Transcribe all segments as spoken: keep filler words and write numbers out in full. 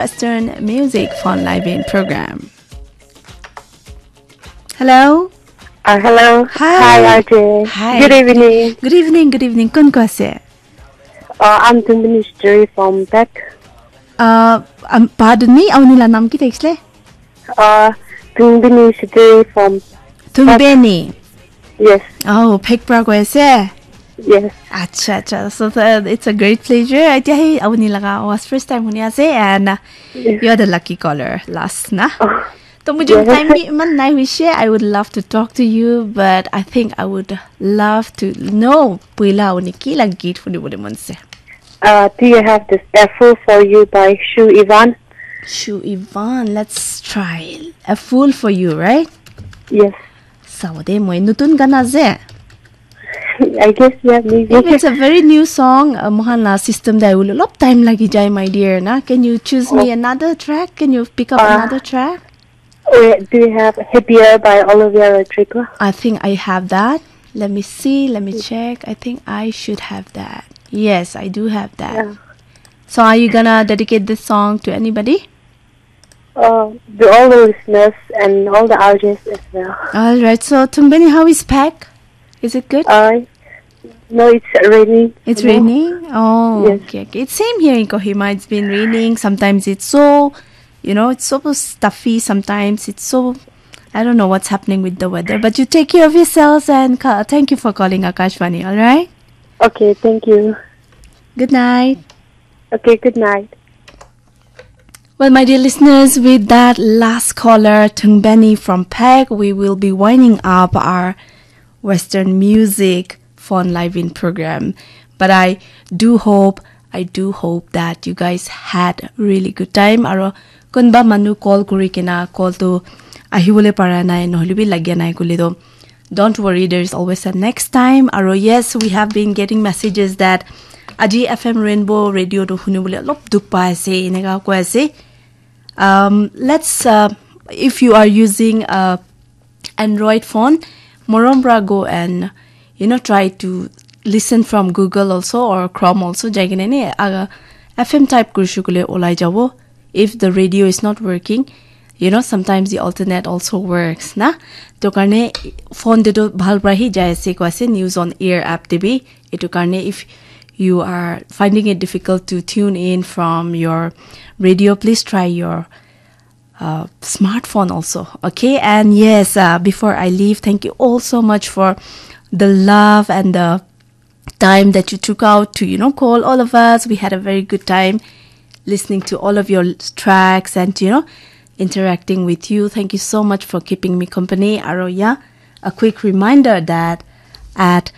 Western Music Fun Live in Program. Hello. Uh, hello. Hi. Hi, R J. Hi. Good evening. Good evening, good evening. Kun ko ase? Uh, I'm Tumbini Shiteri from Phek. Uh, um, pardon me, auni la nam ki thakisle? Uh, Tumbini Shiteri from, Tumbeni. Yes, Oh, Phek pra ko ase? Yes. Acha, acha. So the, it's a great pleasure. Atia hi auni laga was first time huni ase, and uh, Yes. You're the lucky caller last na. Oh, To mujhe Yes. time bhi iman nai hoise. I would love to talk to you, but I think I would love to know puila auni ki la geet huni bole mon se. Uh, do you have this A Fool for You by Shu Ivan? Shu Ivan, let's try. A Fool for You, right? Yes. Sabo de moi nutun gana ase. I guess, yeah, maybe. If it's a very new song, uh, mohan la system dai ulu lop time lagi jai, my dear, na. Can you choose me Oh. Another track? Can you pick up Uh, another track? Wait, do you have Happier by Olivia Rodrigo? I think I have that. Let me see. Let me check. I think I should have that. Yes, I do have that. Yeah. So, are you gonna dedicate this song to anybody? Uh, to all the listeners and all the R Js as well. All right. So, Tumbeni, how is Phek? Is it good? Uh, no, it's raining. It's you know. Raining? Oh, Yes. Okay, okay. It's same here in Kohima. It's been raining. Sometimes it's so, you know, it's so stuffy. Sometimes it's so, I don't know what's happening with the weather. But you take care of yourselves and ca- thank you for calling Akashvani, all right? Okay, thank you. Good night. Okay, good night. Well, my dear listeners, with that last caller, Tungbeni from Phek, we will be winding up our Western music fun live in program. But I do hope, I do hope that you guys had a really good time. Aro kunba manu call kuri kena call to ahibole para nai, nohole bi lagya nai kule to. Don't worry, there is always a next time. Aro yes, we have been getting messages that aji F M Rainbow Radio to hunibole olop dukh pai ase, eneka koi ase. Um, let's, uh, if you are using a Android phone, morom pra go and, you know, try to listen from Google also or Chrome also. Jai kena ni, uh, F M type kurishe kule olai jabo. If the radio is not working, you know, sometimes the alternate also works, na? To karne phone te to bhal pra hi jai ase koi ase, News on Air app te bi. Etu karne, if you are finding it difficult to tune in from your radio, please try your uh, smartphone also. Okay, and yes, uh, before I leave, thank you all so much for the love and the time that you took out to, you know, call all of us. We had a very good time listening to all of your tracks and, you know, interacting with you. Thank you so much for keeping me company. Aro yeah, a quick reminder that at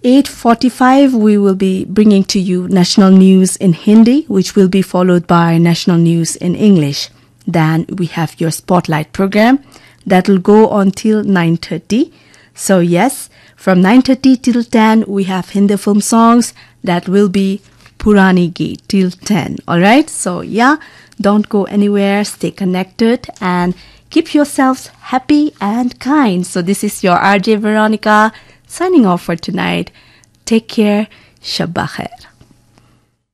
eight forty-five, we will be bringing to you national news in Hindi, which will be followed by national news in English. Then we have your spotlight program that will go on till nine thirty. So yes, from nine thirty till ten, we have Hindi film songs that will be Purani Geet till ten. All right. So yeah, don't go anywhere. Stay connected and keep yourselves happy and kind. So this is your R J Veronica signing off for tonight. Take care. Shabba khair.